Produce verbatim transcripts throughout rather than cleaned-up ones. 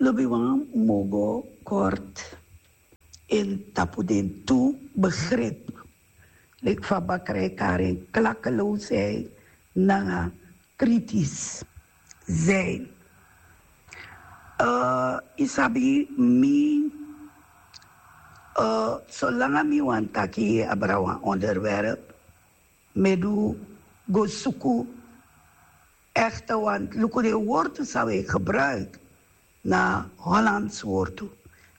Lobiwan, mogo kort en tapu den tu begrip. Leki fa bakra e kari en klakeloosheid nanga kritisch zijn. Uh, yu sabi, mi, uh, solanga mi wani taki abra wan onderwerp, mi e du go suku echte, want luku den wortu san wi e gebruik na Hollands wortu.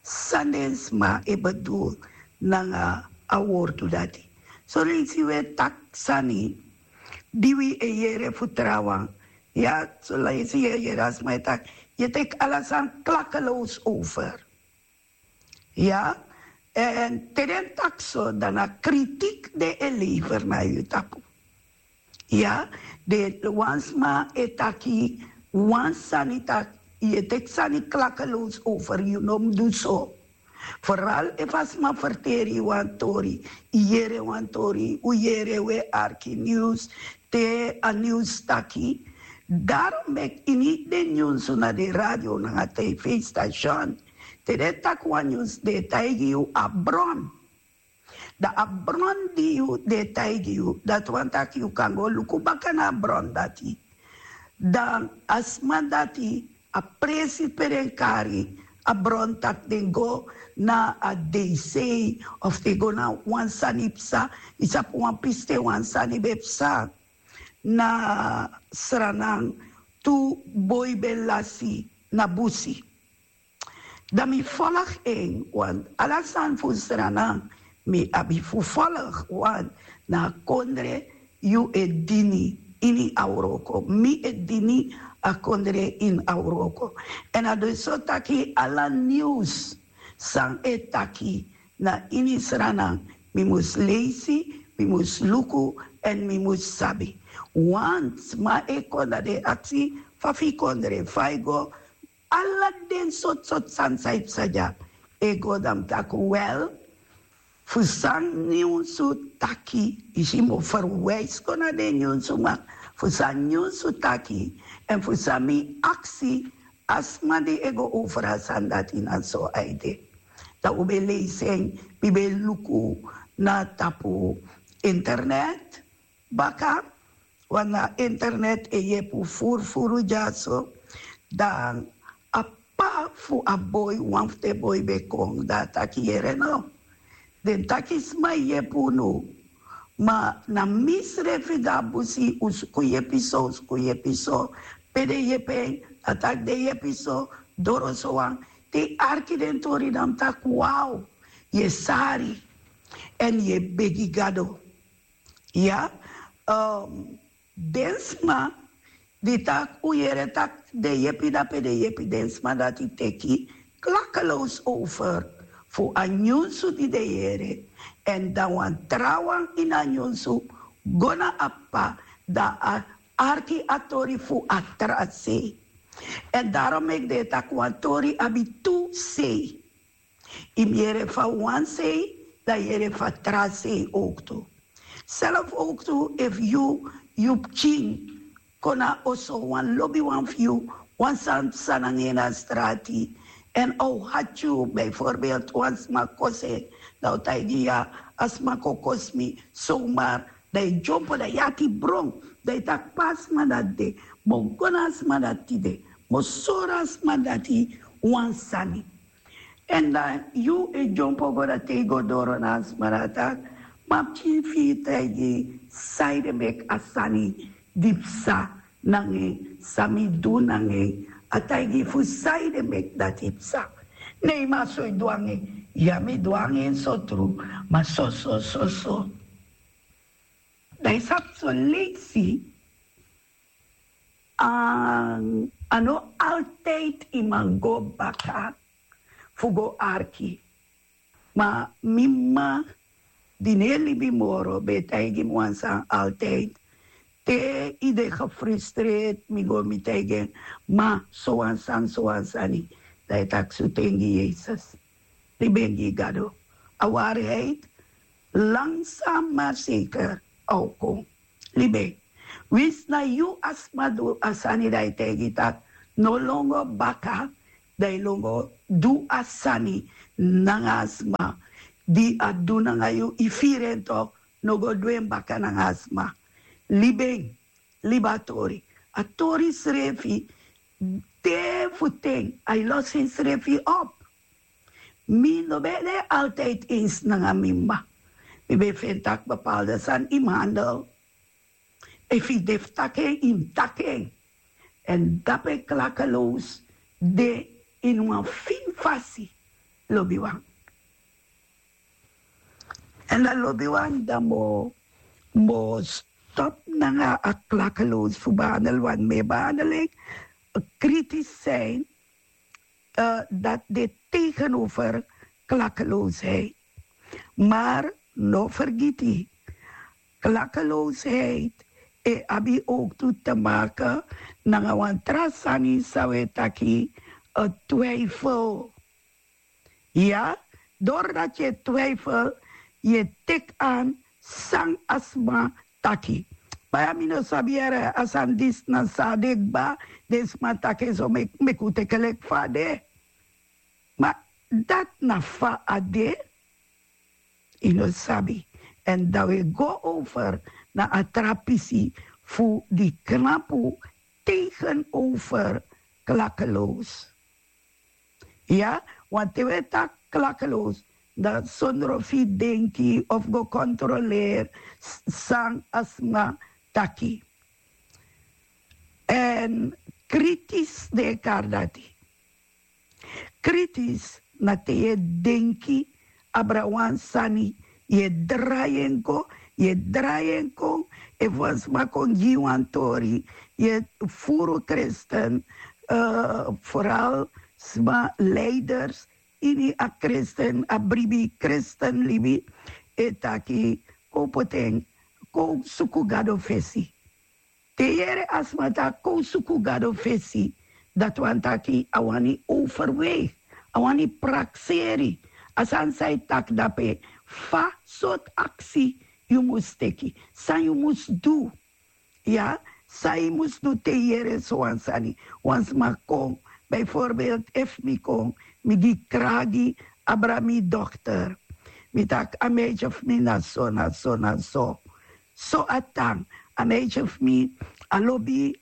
San den sma e bedoel nanga a wortu dati. Soleisi wi e taki sani di wi e yere fu trawan. Ya, soleisi yu e yere a sma e taki, yu e teki ala sani klakeloos over. Ya, en te den taki so, dan na kritiek den e lever na yu tapu. Ya, den wan sma e taki wan sani, taki yu e teki sani klakeloos over, yu no mus du so. Vooral efu a sma ferteri yu wan tori, yu yere wan tori, un yere, un e arki nieuws, te a nieuws taki. Daarom meki ini den nyunsu na den radio nanga tv-station, te den taki wan nyunsu, den e taigi yu a bron. Dan a bron di yu, den e taigi yu, dati wani taki yu kan go luku baka na a bron dati. Dan a sma dati, a presi pe den kari a bron, taki den go na a DC, of den go na wan sani psa. Yu sabi wan pisten wan sani ben psa na Sranan, tu boi ben lasi na busi. Dan mi volg en, want ala sani fu Sranan mi abi fu volg, want na a kondre yu e dini ini a wroko. Mi e dini a kondre ini a wroko. En a de so taki ala nieuws san e taki na ini Sranan, mi mus leisi, mi mus luku, en mi mus sabi. Want sma e kon, dan den e aksi fa fu yu kondre, fa yu go, ala den sortu sortu sani san e psa dya. E go, dan mi taki wel, fu san nyunsu taki, yu si, mi o verwijs kon na den nyunsu, ma fu san nyunsu taki, en fu san mi aksi a sma di e go over a sani dati, na so a e de. Dan un ben leisi en, mi ben luku na tapu internet baka, want na internet e yepi un furu furu dyaso. Dan a p'pa fu a boi, wan fu den boi ben kon, dan a taki: Yere no, den taki sma e yepi unu, ma na misrefi go na busi, un suku yepi so, un suku yepi so. Pe den yepi en? A taki den yepi so, doro so wan. Te yu arki den tori, dan mi taki: Wow, yu e sari, en yu e begi Gado. Ya, um, den sma di taki un yere taki den yepi, dape den yepi, den sma dati teki klakeloos over fu a nyunsu di den yere. En dan wan trawan ini a nyunsu go na a p'pa, dan a arki a tori fu a tra sei. En daarom meki den e taki wan tori abi tu sei. Yu mus yere fu a wan sei, dan yere fu a tra sei ook tu. Zelf ook tu, efu yu, yu pikin kon na oso, wan lobiwan fu yu, wan sani psa nanga en na strati, en a o hati yu. Bijvoorbeeld wan sma kosi en, dan a o taigi yu: Ya, a sma kon kosi mi, zomaar. Dan yu dyompo, dan yu ati bron, dan yu taki: Pe a sma dati de? Mi o go na a sma dati tide, mi o sori a sma dati wan sani. En dan yu e dyompo go, dan te yu go doro na a sma, dan a taki: Ma pikin, fu yu taigi yu sanede meki a sani di psa nanga en, san mi du nanga en. A taigi yu fu sanede meki dati psa. Ne, ma so yu du nanga en? Ya, mi du nanga en so tru, ma so so so so. Dan yu sabi, soleisi a, a no altijd yu man go baka fu go arki. Ma mi mama, di no e libi moro, ben e taigi mi wan sani altijd. Te yu de gefrustreerd, mi go, mi taigi en: Ma, so wan sani, so wan sani. Dan yu taki: Sutu en gi Yesus. Libi en gi Gado. A waarheid, langzaam maar zeker, a o kon. Libi en. Winsi na yu a sma du a sani, dan yu taigi taki: No lon go baka, Dan yu longo du a sani nanga a sma di a du nanga yu, yu firi en tok, no go du en baka nanga a sma. Libi en, libi a tori. A tori srefi, te fu ten a e losi ensrefi op. Mi no ben de altijd eens nanga mi mma. Mi ben feni tak' bepaalde sani yu mus handel. Efu yu de fu taki en, yu mus taki en. Èn dape klakeloos de ini wan fini fasi. Lobiwan. Èn dan lobiwan, dan mi o mi o stop nanga a klakeloos fu behandel wan mi e behandel en. Kritisch zijn, dati de tegenover klakeloosheid. Maar no fergiti, klakeloosheid e abi ook tu te maken nanga wan tra sani san wi e taki twijfel. Ya, doordat yu e twijfel, yu e teki an san a sma taki. Baya, mi no sabi yere a sani disi na san a de kba. Den sma taki en so, meki un teki en leki fa a de. Ma dati na fa a de. Yu no sabi. Èn dan wi e go over na a tra pisi fu di knapu tegenover klakeloos. Ya, want te wi e taki klakeloos, dan sondro fu yu denki of go kontroleri san a sma taki. Èn kritisch den e kari dati. Kritisch na te yu e denki abra wan sani, yu e drai en go, yu e drai en kon. Efu wan sma kon gi yu wan tori, yu e furu kristen, vooral sma leiders ini a kristen, a bribi kristen libi, e taki kon poti en, kon suku Gado fesi. Te yu yere a sma taki kon suku Gado fesi, dati wani taki a wani overweeg, a wani prakseri a sani san yu taki dape. Fa sortu aksi yu mus teki, san yu mus du? Ya, san yu mus du te yu yere sowan sani? Wan sma kon, bijvoorbeeld efu mi kon, mi gi kragi abra mi dochter. Mi taki a meisje fu mi na so, na so, na so. So a tan. A meisje fu mi a lobi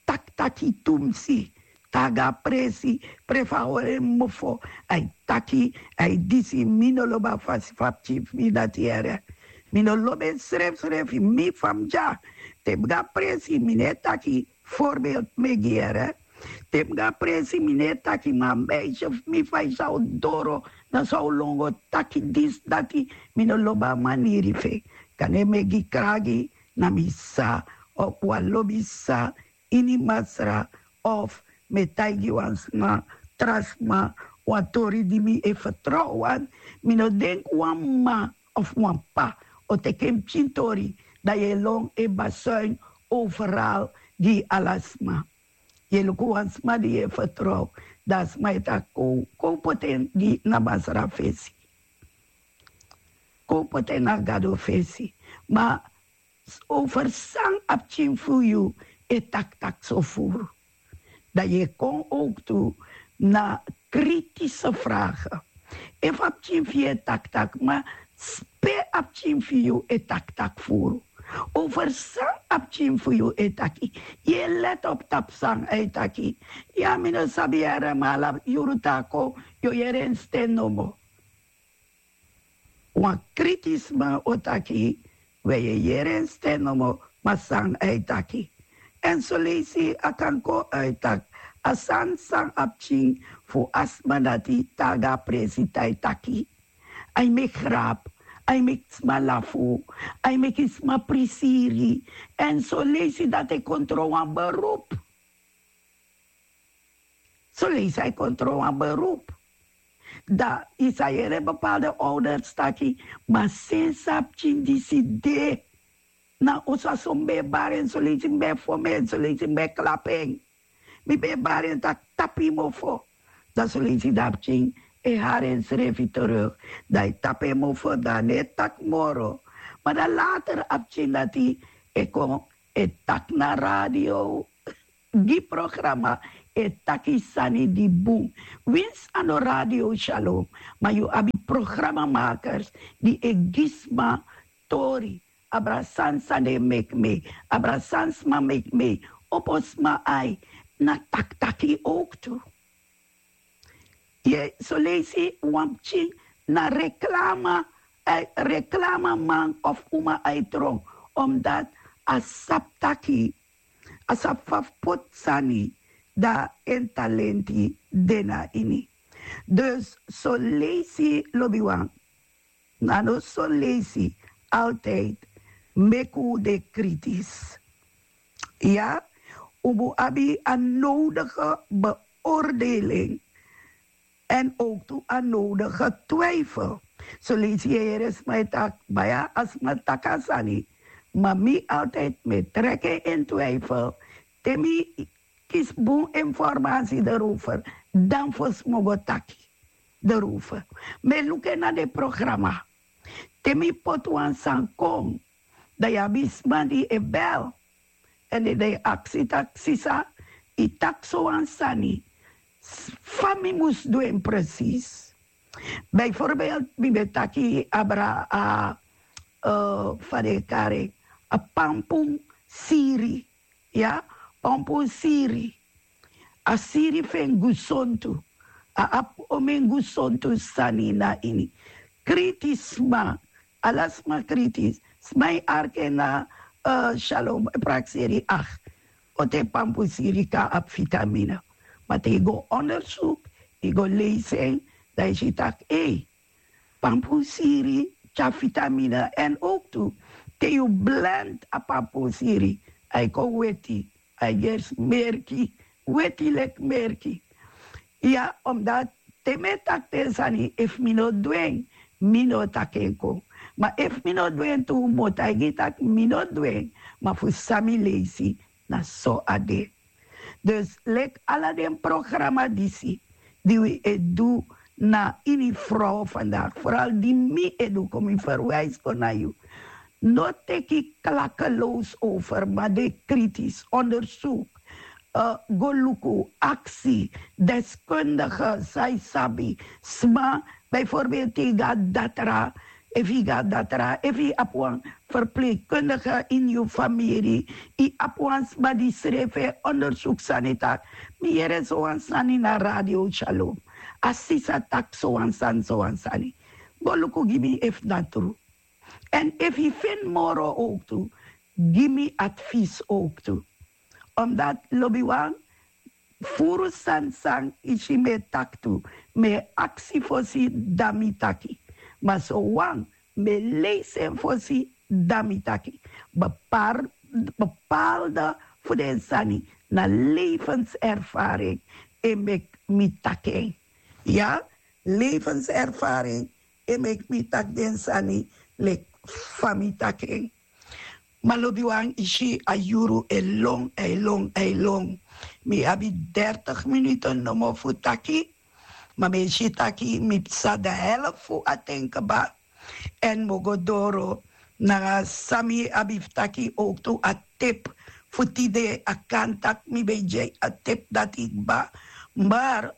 taki taki tumsi. Te a go na presi, prefa a hori en mofo, a e taki, a e disi. Mi no lobi a fasi fu a pikin fu mi dati yere. Mi no lobi en srefsrefi, mi fa mi de ya. Te mi go na presi, mi no e taki, voorbeeld mi e gi yere. Te mi go na presi, mi no e taki, ma a meisje fu mi, fa yu sa o doro, na so a o longo taki disi dati. Mi no lobi a maniri fu en. Kande mi e gi kragi na mi sisa, of wan lobi sisa ini Masra, of mi e taigi wan sma, tra sma, wan tori di mi e fertrow wan. Mi no denki wan mma of wan p'pa o teki en pikin tori, dan yu e lon e basuin overal gi ala sma. Yu e luku wan sma di yu e fertrow, dan a sma e taki kon, kon poti en gi na Masra fesi. Kon poti en na Gado fesi. Ma over san a pikin fu yu e taki taki so furu. Dan yu e kon ook tu na kritische vragen. Efu a pikin fu yu e taki taki, ma pe a pikin fu yu e taki taki furu? Over san a pikin fu yu e taki? Yu e let op tapu san a e taki? Ya, mi no sabi yere, ma ala yuru te a kon, yu o yere en sten nomo. Wan kritisma o taki, we yu e yere en sten nomo, ma san a e taki? Èn soleisi a kan kon uit taki a sani san a pikin fu a sma dati te a go na presi te a e taki. A e meki grap, a e meki sma lafu, a e meki sma prisiri. Èn soleisi dati e kon tron wan beroep. Soleisi a e kon tron wan beroep. Dan yu sa yere bepaalde ouders taki, ma sensi a pikin disi de, na oso a so mi ben e bari en, soleisi mi ben e fon en, soleisi mi ben e klapu en. Mi ben e bari en taki tapu yu mofo. Dan soleisi dan a pikin e hari ensrefi terug. Dan a e tapu en mofo, dan a no e taki moro. Ma dan later a pikin dati e kon e taki na radio. gi programa e taki sani di bun. Winsi a no Radio Shalom, ma yu abi programmamakers di e gi sma tori, abra san san den meki mei, abra san sma meki mei, opo sma ai, na taki taki owktu. Ye soleisi wan pikin na reklama, reklamaman of uma ai tron, omdat a sabi taki a sabi fa fu poti sani, dan en talenti de na ini. Dus soleisi lobiwan, na no soleisi, altijd meki un de kritis. Ya, un mus abi a nodige beoordeling. En ook tu a nodige twijfel. Soleisi yere sma e taki baya, a sma taki a sani, ma mi altijd mi e trek en in twijfel. Te mi kisi bun informasi erover, dan fosi mi o go taki erover. Mi e luku en na den programa. Te mi poti wan sani kon, dan yu abi sma di e bel, èn den e aksi taki sisa, yu taki sowan sani, fa mi mus du en presis? Bijvoorbeeld mi ben taki abra a, fa den e kari en, a pampun siri. Ya, pampun siri. A siri fu en gesontu. A abi omen gesontu sani na ini. Kritis sma, ala sma kritis. Sma e arki en na, shalom e prakseri, ach, o te pampun siri kan abi vitamine. Ma te yu go ondersuk, yu go leisi en, dan yu si taki ei, pampun siri tyari vitamine. Èn ook tu, te yu blend a pampun siri, a e kon weti, a e gersi merki, weti leki merki. Ya, omdat te mi e taki den sani, efu mi no du en, mi no o taki en kon. Ma efu mi no du en tu, mi o taigi yu taki mi no du en. Ma fu san mi leisi, na so a de. Dus leki ala den programa disi di wi e du na ini frow vandaag, vooral di mi e du, kon mi verwijs kon na yu. No teki klakkeloos over, ma de kritisch onderzoek. Go luku, aksi deskundige san yu sabi, sma, bijvoorbeeld te yu go na datra, efu yu go na datra, efu yu abi wan verpleegkundige ini yu famiri, yu abi wan sma di srefi e onderzoek sani taki, mi yere sowan sani na Radio Shalom, a sisa taki sowan sani, sowan sani. Go luku gi mi efu na tru. Èn efu yu feni moro owktu, gi mi advies owktu. Omdat lobiwan, furu sani san yu si mi e taki tu, mi e aksi fosi, dan mi taki. Ma sowan mi e leisi en fosi, dan mi taki. Bepaalde fu den sani na levenservaring e meki mi taki en. Ya, levenservaring e meki mi taki den sani leki fa mi taki en. Ma lobiwan, yu si a yuru e lon, a e lon, a e lon. Mi abi dertig minuten nomo fu taki. Ma mi e si taki mi psa de helft fu a ten kba. Èn mi o go doro nanga san mi abi fu taki owktu, a tip fu tide. A kan taki mi ben e gi a tip dati kba. Maar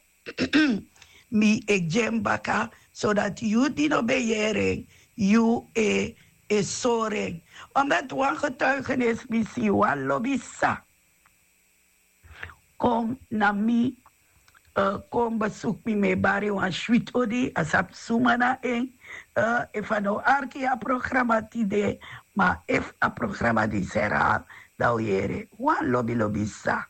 mi e gi en baka, zodat yu di no ben yere en, yu e, e sori en. Omdat wan getuigenis mi si, wan lobi sisa kon na mi, kon besuku mi, mi e bari wan switi odi, a sabi suma na en. Efu a no arki a programa tide, ma efu a programa disi herhaal, dan o yere, wan lobi lobi sisa.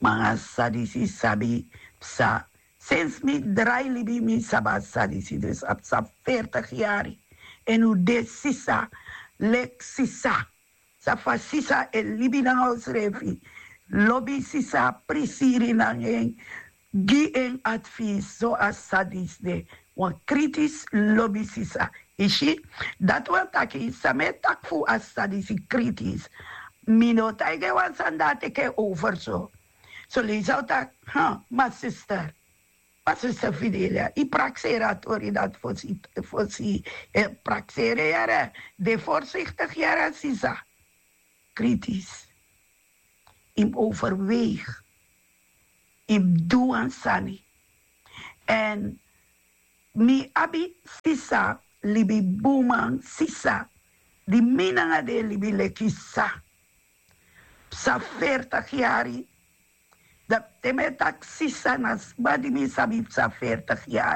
Ma nanga san disi sabi psa, sensi mi drai libi, mi sabi a sani disi, dus a psa veertig yari. Èn un de sisa leki sisa. Sabi fa sisa e libi nanga unsrefi. Lobi sisa, prisiri nanga en, gi en advies, so a sisa disi de wan kritis lobi sisa. Yu si, dati wani taki san mi e taki fu a sisa disi kritis, mi no o taigi en wan sani dan a teki en over so. Soleisi a o taki, ha, ma sister, ma sister Fidelia, yu prakseri a tori dati fosi, fosi, eh, prakseri yere, de voorzichtig yere, sisa. Kritis. yu mus overweeg, yu mus du wan sani. Èn mi abi sisa, libi buman sisa, di mi nanga den e libi leki sisa, psa fertig yari. Dan te mi e taki sisa na sma di mi sabi psa fertig yari.